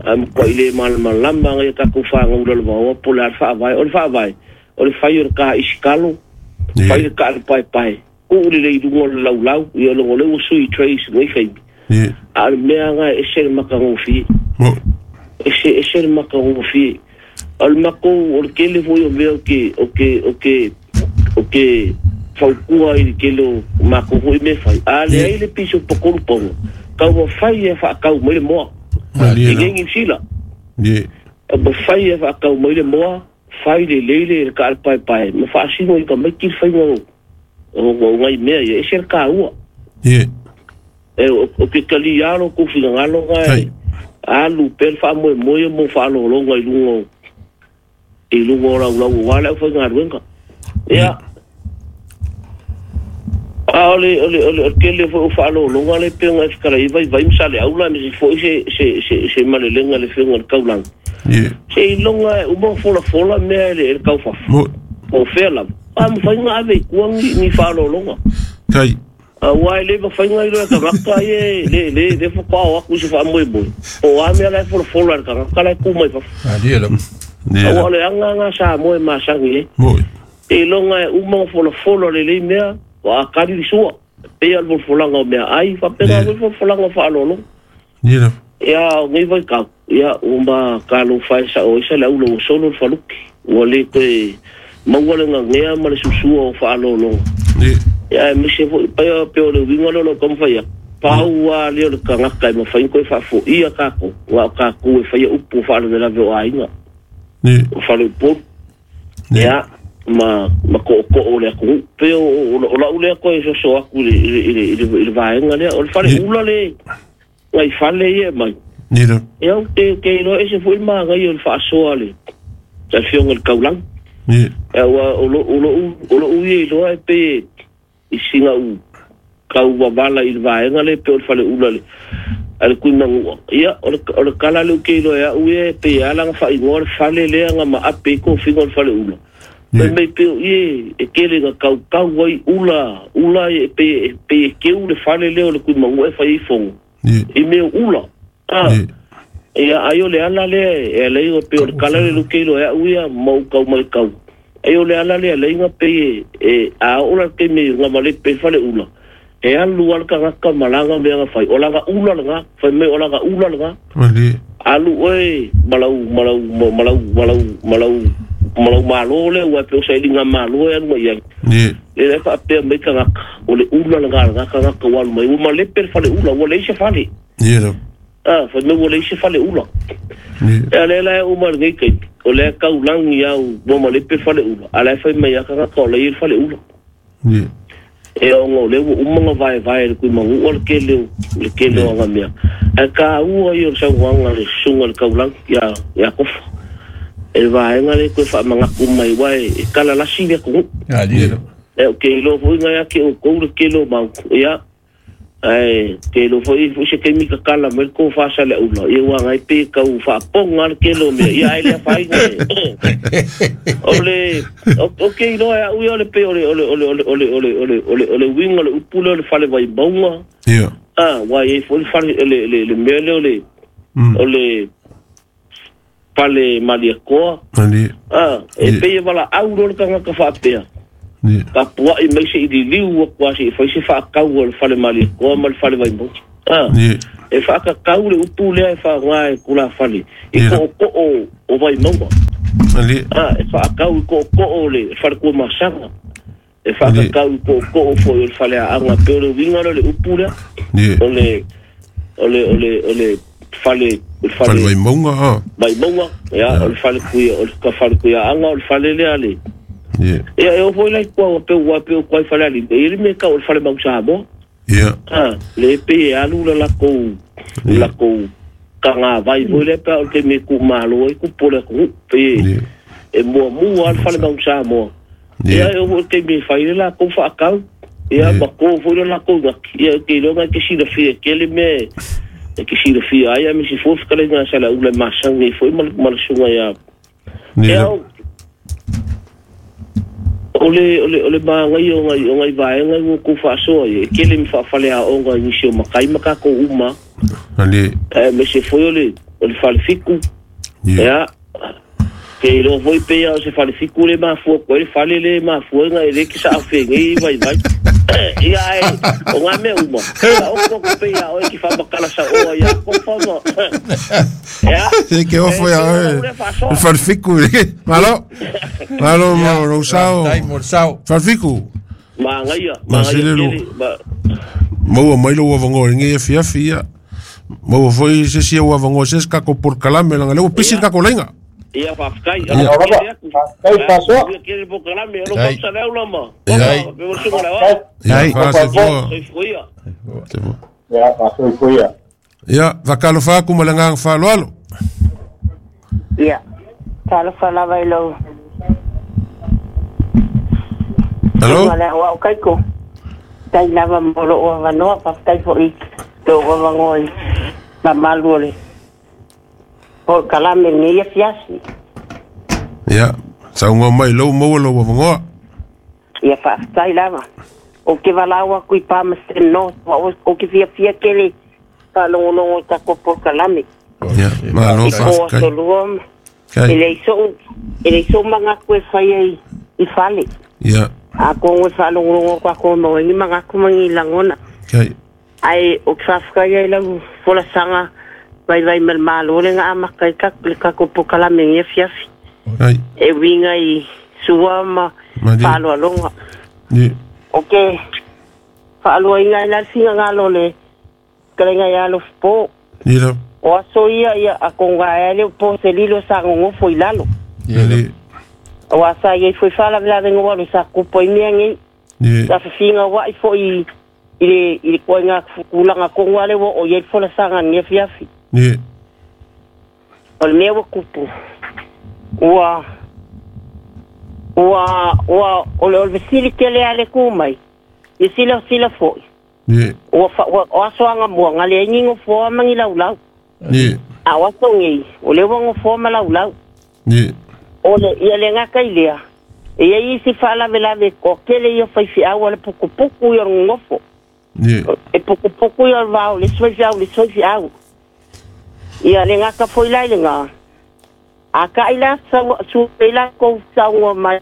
Ae matuai le malamalama ngai a tatou fanau lalovaoa po o le a le faavae. O le faavae o le fai o le kaisi kalo, fai le kaa le paepae, tuu lelei i luga o le laulau, ia logo lea ua sui trace nei kaimi. A o le mea lena e ese le matagofie. Ese ese le matagofie. O le matou o le tele foi o mea o ke o ke o ke o ke fautua i le tele o matou foi mea fai. A leai le piso pakolu paoga, tau mafai e faatau mai le moa. I nei Niu Sila. Mafai e faatau mai le moa, fai lelei le kaa le paepae, ma faasino i tamaiti le faiga o o ngai mea ia, ese le kāua. E o ke kalia lo kou finagalo ngai alu pea le faamoemoe mo faalologa i luga i luga o laulau aua le aufaigaluega. Ia a o le o le o le tele foi o faalologa le pei ona e fetalai ai vaivai ma saleaula aemaise foi se se se se malelega i le afioga i le taulaga. Se iloga e uma ona folafola mea e le e le taufafo. Po o fea lava a mafai ona ave i tua ni ni faalologa. Tai. Aua e le mafai ona iloa e tagata ia le le le faatoa o atu i se faamoemoe. Po o a mea la e folafola e le tagata la e tu mai fafo. Aua o le aga lena a Samoa e masani ai. Se iloga e uma ona folafola lelei mea ua akali le sua. E pei lava o le folafolaga o meaai faapena foi le folafolaga o faaaloaloga. Ia o nei vaitau, ia ua ma talofa e sao ai Saleaula ua solo le faluki. Ua le toe maua le gagea ma le susua o faaaloaloga. Ia aemaise foi pei pei o le uiga lea o lou taumafai atu, pau lava lea o le tagata e mafai ona toe faafoia tatou, na o tatou e faia upu o faalavelave o aiga, o faleupolu, ia ma ma tootoo o le atunuu. Pei o o lau lea toe soso atu i le i le i le i le vaega lea. O le faleula le nai fale ia e aumai, ia ou te te iloa ese foi le manaia o le faasoa a le afioga i le taulaga. Aua o lou o lou o lou ia iloa e pei i sina ou tau wavala i le vaega lea e pei o le faleula le a le Tuimanua. Ia o le o le tala lea ou te iloa e au ia e pei e ala ona faaigoa le fale lea na maape ai tofiga o le faleula. Fai mai pei o i e tele na tautau ai ula ula e pei e pei e keu le fale lea o le Tuimanua e fai ai fono i mea o ula. A ia ai o le ala lea e ala ai ona pei o le tala lea ou te iloa e au ia ma ou tau matau. Ai o le ala lea e ala ai ona pei e a oo la le taimi na malepe ai le faleula, e alu lava le tagata ma lana mea na fai, o lana ula lena, fai mai o lana ula lena. Alu oe ma lau ma lau ma lau ma lau ma lau ma lau malo lea aua e pei o sailiga malo e alu mai ai. Lea e faapea mai tagata, o le ula lena a lena tagata ua alu mai, ua malepe le faleula, ua leai se fale. A, fai mai ua leai se faleula. Ia lea la e oo mai i lenei taimi, o lea e taulagi lava ua malepe le faleula, a o la e fai mai lava tagata o la e i ai le faleula. E ona o lea ua uma ona vaevae e le Tuimanua le tele o le tele o ana mea. Ae taua ia o le saunoaga a le susuga i le taulagi ia ia Kofa. E le vaega lea e toe faamanatu mai aua e talalasi le atunuu. E ou te iloa foi na ia te outou le tele o mau, ia ae te iloa foi foi se taimi tatala mai le tofa a Saleaula, ia aua na e pei e tau faapoga le tele o mea, ia ae le afaina e o le o te iloa e au ia o le pei o le o le o le o le o le o le o le o le o le uiga o le upu lea o le fale vaimauga, a aua e i ai foi le fale le le le mea lea o le o le fale Malietoa, a e pei e valaau loa le tagata faapea. Tapua'i mai se'i liliu aku a se'i fai se fa'akau o le fale malietoa ma le fale vaimauga a e fa'akakau le upu lea e fa'aogā e tulafale i to'oto'o o vaimauga a e fa'akau i to'oto'o o le fale tuamasaga e fa'akakau i to'oto'o fo'i o le falea'aga pe o le uiga lea o le upu lea o le o le o le o le fale o le fale vaimauga a vaimauga ia o le fale kuia o le fale kuia'aga o le fale lea le ia e o foi lai kua pe ua pe o fale ali e le me ka o le fale mau Samoa ia ah le pe alu la la ko la ko kanga vai foi le pe o te me ku malo e ku pole ku pe e mua mua al fale mau Samoa ia e o te me fai la ko fa kau ia ma ko foi la ko ia ke lo ke si fia ke le me ke si fia ai me si fo ka le na sala ula masangi foi mal mal sunga ya ia ole ole ole magai o ngai o ngai vaenga o ku faasoa e kele mi faafale aoga i nisi o makai ma kako uma ali e me se foi ole ole falefiku ia ke lo foi pe ia se falefiku le mafua ko le fale le mafua ngai le ki sa afengi vai vai ia e o ngai me uma o ko ko pe ia o ki fa makala sa o ia ko fa ma ia se ke o foi a le falefiku malo malo malo sao falefiku ma ngai ma ngai mo mai lo vango ngi fia fia mo foi se si o vango se ka ko por kalame la le pisi ka ko lenga ia fa'afetai kai fa'asoa kele pokalame o lo kausa lea ulama ia fa'asoa ia fa'asoa ia fakalofa aku ma le agaga fa'aloalo ia talofa lava i lou alo ua o kaiko tai lava mo lo'o avanoa fa'afetai fo'i lou avagoa i mamalu o le o kalame nei ia fiasi. Ia, sauga mai lou maua lou avanoa. Ia fa'afetai lava. O ke valau aku i Palmerston North, o ke fiafia kele fa'alogologo i tako polokalame. Ia, malo fa'afetai. I ko e le iso'u, e le iso'u magaku e faia i, i fale. Ia. A kongo e fa'alogologo kako mauaini magaku magi lagona. Kai. Ai, o ke fa'afetai ai lau folasaga vai vai mal malo le nga makai ka le ka ko pokalame ngi fiafi ai e winga i sua ma falo alonga ni okay falo inga la singa ngalo le krenga ya lo po ni la o aso ia ia akonga ele po se lilo sa ngo foi lalo ni o asa ia foi fala la vengo lo sa ko po mi ngi ni sa finga wa i foi i le i ko nga kulanga ko ngale wo o ye fola sanga ngi fiafi ni o le mea ua kupu ua ua ua o le o le vesili tele a le ku mai i sila sila fo'i ni ua fa ua o asoaga muaga le ai gofoa magi laulau ni a o asogei o le ua gofoa ma laulau ni o le ia le gaka i lea e iai isi fa'alavelave o kele ia faife'au a le pukupuku ia o le gogofo ni e pukupuku ia o le vao le isi faife'au le isi faife'au ia le ngaka foi lai le ngā. A ka ila sa su ila ko sa mai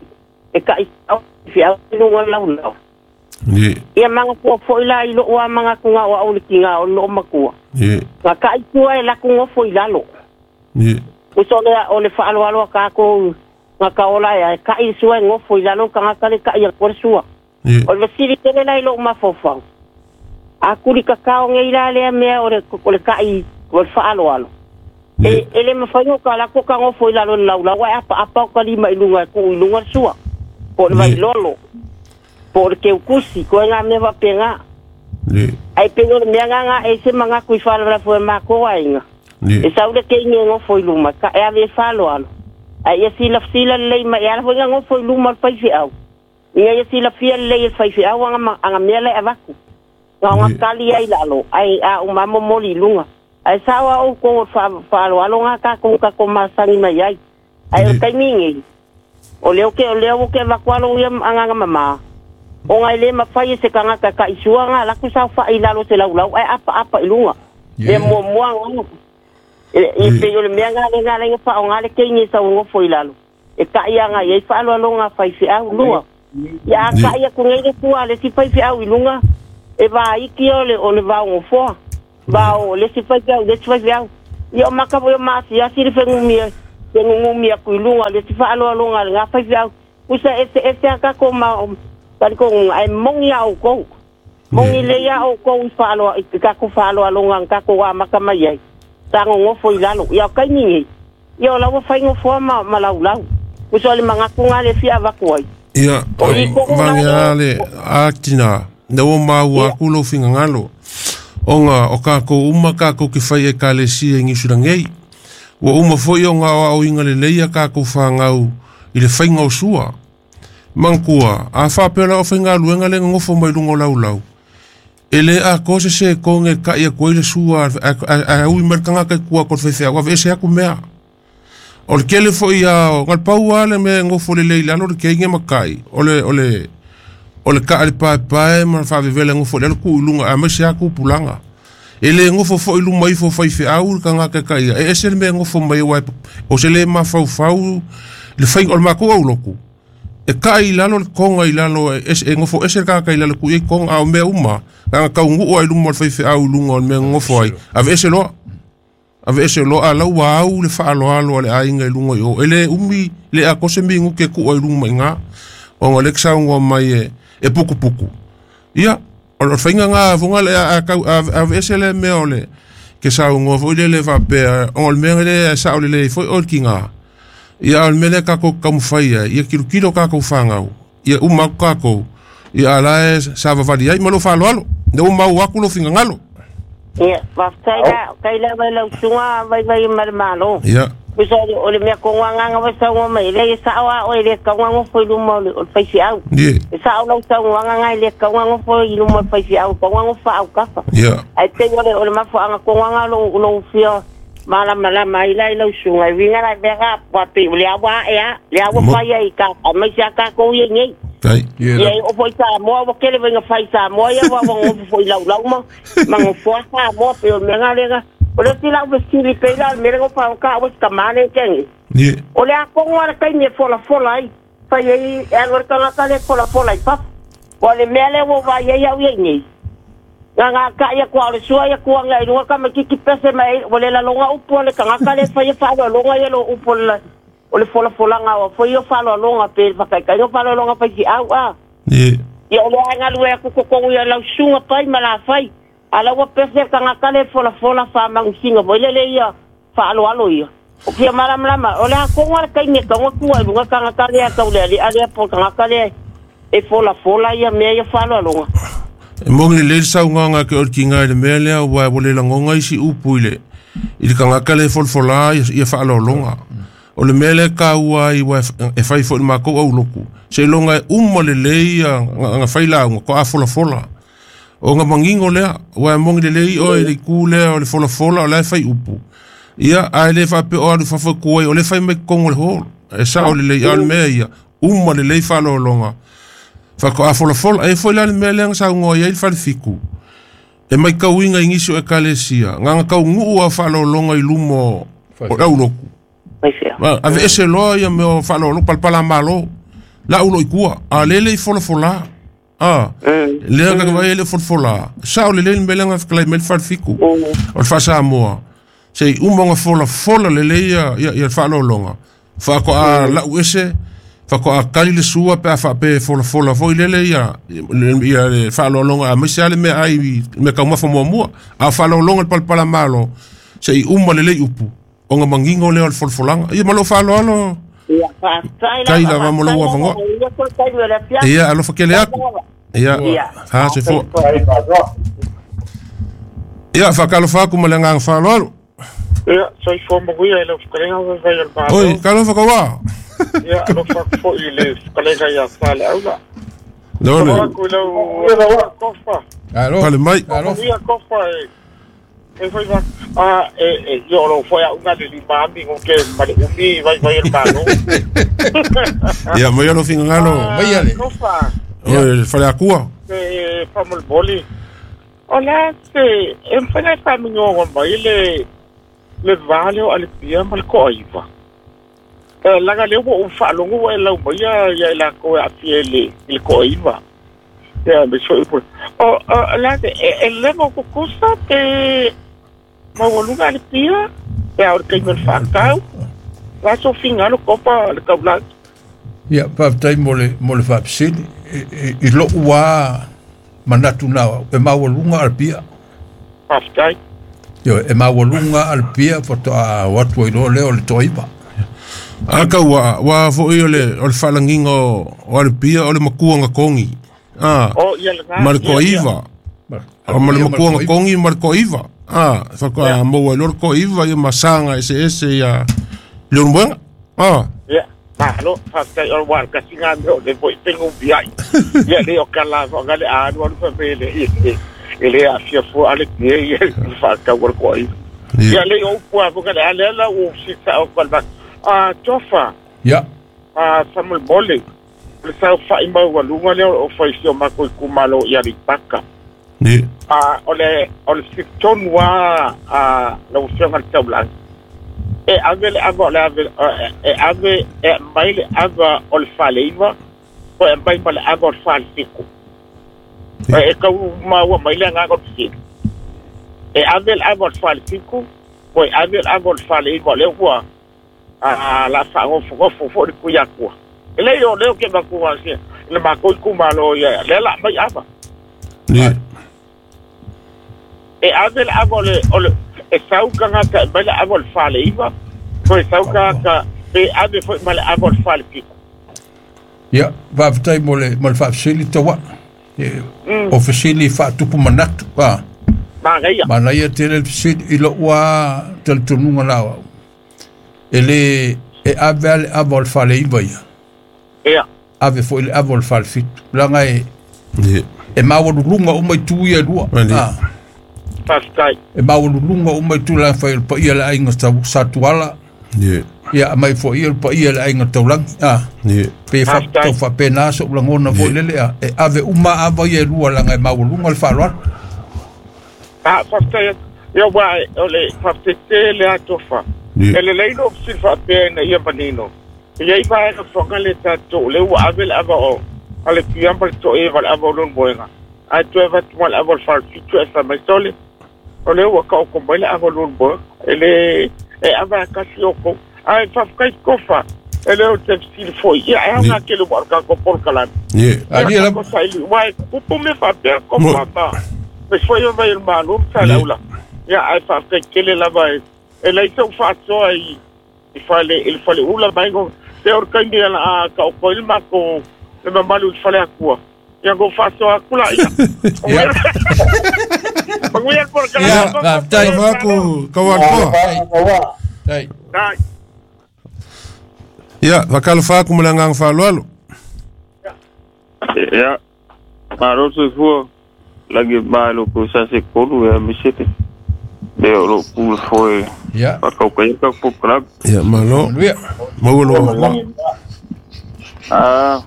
e ka i fi au lunga lau lau. Ni. Ia manga ko foi lai lo wa manga ku ngā wa o ki ngā o lo makua. Ni. Nga ka i tua e la ku ngofo i lalo. Ni. O so le o le fa alo alo ka ko nga ka ola e ka i sua ngofo i lalo ka nga ka le ka i ko sua. Ni. O le siri tele lai lo mafofau. A kuri ka kao ngai la le mea o le o le ka i o le fa alo alo. E e le mafai o ka la ko ka ngofo i lalo lau lau e apa apa o ka lima i lunga ku i lunga sua. Po le vai lolo. Po le keukusi ko ngā mea wapenga. Ni. Ai pe le mea ngā e se manga kui whala fo e mako ainga. Ni. E saule ke inge ngofo i luma ka e ave falo alo. Ai e sila sila lei ma e ala fo ngā ngofo i luma al faifi au. Ia e sila fia lei e faifi au anga anga mea le avaku. Ngā ngā kali ai lalo ai a umamo moli lunga. Ai sawa o ko falo alo ngā ka ko ka ko masangi mai ai. Ai o kaimingi. O leo ke o leo ke vakualo ia anga mama. O ngai le mawhai e se kangaka ka isua ngā laku sau wha i lalo se lau lau ai apa apa i lunga. Le mua mua ngā. E pe o le mea ngā le ngā le ngā wha o ngā le keingi sau ngofo i lalo. E ka ia ngā i wha alo alo ngā whai whiau lua. Ia ka ia ku ngai ku ale si fai fi au ilunga e va iki o le o le va o fo. Va o le si fai fi au le si fai fi au. Ia maka vo ma si asi le fengumia fengumia ku ilunga le si fa alo alonga le nga fai fi au. Usa ese ese aka ko ma tali ko ai mongi au ko. Mongi le ia o ko fa alo i ka ku fa alo alonga ka ko wa maka mai ai. Tango ngofo ilalo. Ia kai ni. Ia o lau fai ngofo ma ma lau lau. Usa le mangakunga le fia vakuai. Ia, vangia le akina, na o maua aku lo fingangalo. Onga o kako uma kako ki whai e kalesia ngi surangei. Ua uma foi o ngā o inga le leia kako whangau i le whainga o sua. Mangkua, a whapela o whainga luenga le ngofo mai lungo lau lau. E le a kose se konge ka ia koe le sua a, a, a ui merkanga kai kua ko whewhea, wave ese aku mea. O le kele foi a o ngal paua le me ngofo le leila lo le keinge makai. O le, o le, o le ka ale pae pae ma whavevele ngofo le ku ilunga a mese aku pulanga. E le ngofo fo ilu mai fo fai feau le kanga kaka ia. E ese le me ngofo mai wai o se le ma fau fau le whai o le mako au loku. E ka i lalo le konga i lalo e, e ngofo ese le kaka i lalo ku i konga au mea uma. Kanga kau ngu ai lumo le fai feau lunga o le mea ngofo ai. Ave ese loa. Ave ese loa lau au le whaaloalo ale ainga i lunga i o. Ele umi le a kose mi nguke ku ai lunga mai ngā. O ngā leksa ngā mai e, e puku puku. Ia, o le whainga ngā vonga le a, a, a, ave ese le mea o le ke sau ngā foi le le whapea. O le mea le sa o le le foi o le ki ngā. Ia o le mea le kako kamuwhaia. Ia kilo kilo kako whangau. Ia umaku kako. Ia ala e sa vavali ai malo whaaloalo. Ne umau aku lo whingangalo. Ia, waftai la, kai la vai lau tunga vai vai marmalo. Ia. Usa o le mea konga nganga vai saunga mai le sa o o le kaunga ngofo luma o le fai au. Ia. Sa o lau saunga nganga le kaunga ngofo luma fai au, kaunga ngofo au kafa. Ia. Ai te o le o le mafo anga konga nga lo lo fia mala mala mai lai lau sunga winga la vera pa pe le awa e a le awa fai ai ka mai sia ka ko ye nei. Kai. Ia o foi sa mo o kele venga fai sa mo ia wa wa foi lau lau ma ma ngo sa mo pe o menga lega o le tila o siri pe la me ngo pa ka o ka mane kengi. Ye. O le a kongo ara kai me fola fola ai fai ai e lo ka ka le fola fola ai pa. O le me le wo va ia ia nei. Nga nga ka ia kwa le sua ia kwa ngai lunga ka ma kiki pese mai o le la longa upo le ka ka le fai fa lo longa ia lo upo le o le fola fola nga o foi o falo longa pe fa kai kai o falo longa fai ki au a. Ye. Ia o le nga lue ku ko ko ia lau sunga pai mala fai. Ala wa pese ka nga ka le fola fola fa mangusinga bo le le ia fa alo alo ia. O kia mala mala o le a ko nga kai me ka ngo ku lunga ka nga ka le ka le ale ale po ka nga ka le e fola fola ia me ia falo longa. E mongi le sau ngā ke o ki ngā le mea lea wa o le langonga isi upu i le i le kangaka le folfola ia whaalolonga. O le mea lea ka ua i wa e whai fo i mākou au loku. Se longa e uma le lei a ngā whai launga ko a folafola. O ngā mangingo lea wa e mongi le lei o e le ku lea o le folafola o le whai upu. Ia a le whape o alu whawhakua o le whai mai kongo le holo. E sa o le lei a le mea ia uma le lei whaalolonga. Whako a folafola, e foi la le mea lea sa ngoa ia i le fiku. E mai kauinga i ngisio e kalesia. Nganga kau nguu a whaalolonga i lumo o lauloku. Ave ese loa ia meo whaalolo palpala malo. La ulo i kua. A lele i folafola. A lea kaka vai ele folafola. Sa o le lele mea lea nga whakalai mea le whale fiku. O le whasa moa. Se i umonga folafola lele ia ia whaalolonga. Whako a lau ese. Whako a kali le sua pe a whape fola fola foi lele ia ia le whaalolonga a mese ale mea ai me kaumafa mua mua a whaalolonga le palpala malo se i uma lele i upu o ngā mangingo leo le folafolanga ia malo whaaloalo ia whaatai kai la wa molo ua whangoa ia alofa kele aku ia ha se fo ia whakalofa aku ma le ngā whaaloalo ia soifua manuia i lau whakalenga wai o le malo oi kalofa kawa ia alofa foi i le whakalenga ia whale aula. Lole. Aku i lau kofa. Alo. Pale mai. Alo. Ia kofa e. E foi va a e e yo lo foi a unga le limami ngo ke male umi vai vai el malo. Ia mai alo fingalo. Mai ale. Kofa. Oi fale akua. E famol boli. Ola se emfana fa mingo mai le le vale o ale pia mal ko aiva. Laga le ua ou faalogo e lau mai ia i lakou e aafia i le toaiva. Ia me soʻi pule o la e leva o kukusa pe maualuga le pia pe a o le taimi o le faatau la sofiga kopa le taulagi. Ia faafetai mo le mo le faafesili i lo'u a manatu na e maualuga a le pia. Faafetai. Ioe, e maualuga a le pia faatoa o atu ai loa lea o le toaiva. A kau ua ua foʻi o le o le faalagiga o le pia o le makuaga kogi. Ah, ma le toaiva. O ma le makuaga kogi ma le toaiva. Ah, faatoa maua ai loa le toaiva ia ma saga eseese ia le olomoega. Ah. Ia, malo, faafetai o le kasiga mea o le foʻi pegu upiai. Ia le o kala foʻaga le alu alu faapele e le aafia fua a le pia ia le faatau o le toaiva. Ia le o upu a foʻaga le a lea la ua sisa o kalevasa. Ah, tofa. Ia. Ah, famolemole. Le saofaʻi maualuga lea o faisi o makou itumalo i Aleipata. A o le o le sitonu a a lau afioga le taulagi e ave le ava o le ave e ave e mai le ava o le faleiva po e mai ma le ava o le falesiku e kau maua mai le agaga o le fesili e ave le ava o le falesiku po e ave le ava o le faleiva o lea ua a la faagofogofo foʻi le kuiakua. E lei o leo ke makua se le makou itumalo ia lea la mai ava. E ave le ava o le o le e sau tagata e mai le ava o le faleiva po e sau tagata pe ave foʻi ma le ava o le falepiko. Ia faafetai mo le mo le faafesili tauaʻa o fesili faatupu manatu a manaia manaia tele le fesili i lo'u a talitonuga la au e le e ave a le ava o le faleiva ia. Ia. Ave foʻi le ava o le falefitu laga e e maualuluga uma i tu ia lua. Faafetai. E maualuluga uma i tu laga fai o le paia le aiga Satuala. Ia mai foʻi o le paia le aiga Taulagi. A pe tau faapena soʻu lagona foʻi lele a e ave uma ava ia e lua laga e maualuga le faaaloalo. A faafetai ia ua o le faafetai le atofa. E lelei lou fesili faapea ina ia manino. Ia i vaega foga le tatou le ua ave le ava o a le pia ma le toʻeva le ava o lona moega. Ae toe avatu ma le ava o le falefitu e fai mai sole. O le ua kaoko mai le ava o lona moega. E le e ava e kasi o kou. Ae faafetai kofa. E le o te fesili foʻi. Ia e aoga tele ua o le tatou polokalame. Ia. Ia saili ua e kupu mea faapea kofa ma. Me foʻi o mai o le malo ma salaula. Ia ae faafetai tele lava e e lai sau faasoa i i fale i le faleula mai go te o le kaimi ala a ka o koe le makou le mamalu i le fale akua. Ia go faasoa aku la ia. Manuia le polokalame. Ia, faafetai. Aku kauatoa. Tai. Tai. Ia, faakalofa aku ma le agaga faaaloalo. Ia, malo soifua lagi malo ko sa se kolu ia misete. Le o lo pule foe. Ia. Faakaukaia ka polokalame. Ia, malo. Manuia. Maua lou avanoa. Ah.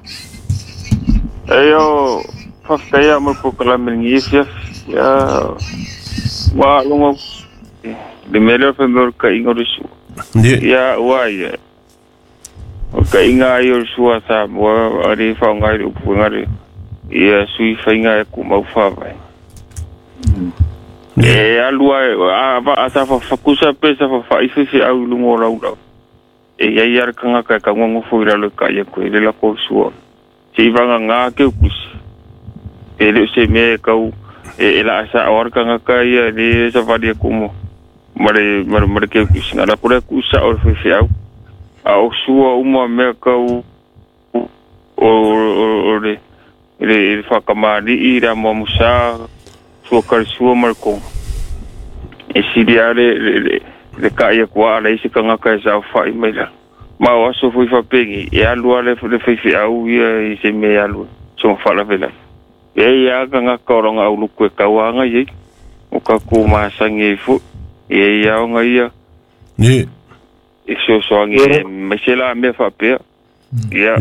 E o faafetaia mo le polokalame i lenei afiafi. Ia ua alogo le mea lea o le faimea o le kaiga o le sua. Ia ua ia. O le kaiga ai o le sua Samoa a le faaaoga i le upuega le ia sui faiga e kumau faavae. E alu ai a a sa fakusa pe sa faaife feau i luga o laulau. E iai a le tagata e taugagofo i lalo e kai aku e le lako o sua. Seʻi vagagā ke ukusi. E le o se mea e kau e e laa saʻo a le tagata ia e lē savali aku mo ma le ma le ma le ke ukusi. Na lako lea kuusaʻo le faifeau. A o sua uma mea kau o o o le le le faakamaliʻi le amoamosā sua kalesua ma le koga. E sili a le le le kai aku a ala i se tagata e saofaʻi mai la. Ma o aso foʻi faapegi e alu a le le faifeau ia i se mea e alu soga faalavelave. E ia tagata o loga auluku e tauaga iai o tatou masagi ai foʻi. E ia oga ia e fesoasoani mai se la mea faapea. Ia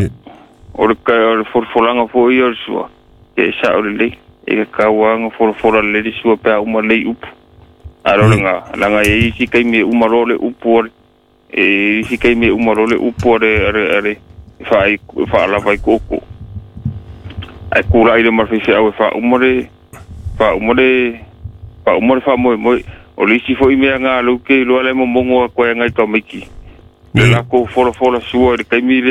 o le o le folafolaga foʻi ia o le sua e saʻo lelei. E tauaga folafola lelei le sua pe a uma lelei upu. A o le lagā laga e ai isi taimi e uma loa le upu o le E isi kaimi uma loa le upu a le a le a le faai faalava i koko ai kula ile ma le faifeau e faauma le faauma le faauma le faamoemoe o le isi foʻi mea ga lou ke iloa le momogo aku ai agai tamaiti le lakou folafola sua i le taimi lea.